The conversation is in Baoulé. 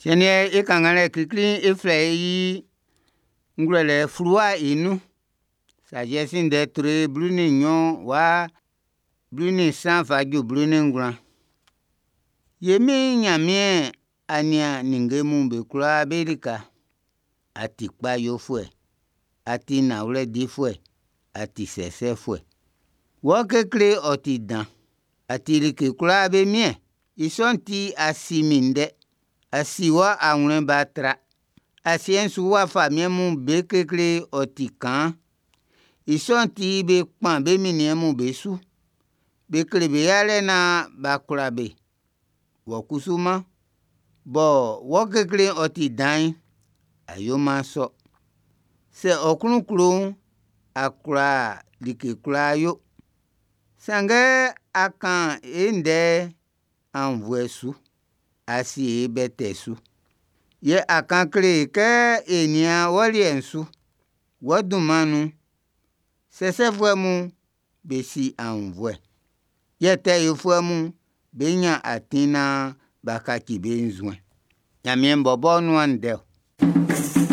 Siɛn'n e kannganlɛ klikli'n e flɛ i ngwlɛlɛ fluwa'n i nun. Sagesse ndɛ tre 12 wa 13 fa ju 19. Ye min Nyanmiɛn, a nian ninnge mun be kwlaa be lika. A ti kpa yofuɛ, a ti nanwlɛ difuɛ, a ti sɛsɛfuɛ. Wɔ kekle'n ɔ ti dan, a ti like kwlaa be miɛn. I sɔ'n ti a si min ndɛ, a si wɔ anwlɛn ba tra. Asiɛ'n su wa famiɛn mun be kekle'n ɔ ti kaan, i sɔ'n ti be kpan be minniɛn'm be su. Be kle be yalɛ nan b'a kwla be. Wɔ kusuman, bɔ wɔ kekle'n ɔ ti dan'n, a yo-man sɔ. Sɛ ɔ klun klo'n, a kwla like kwlaa yo. Sanngɛ a kan e ndɛ aunnvuɛ su, a sie e bɛtɛɛ su. Yɛ a kan kle e kɛ e nian wɔ liɛ'n su. Wɔ dunman nun'n, sɛsɛfuɛ mun be si aunnvuɛ. Yɛ tɛ yofuɛ mun be nyan atin nan b'a kaci be nzuɛn'n. Nyanmiɛn bɔbɔ nuan ndɛ-ɔ.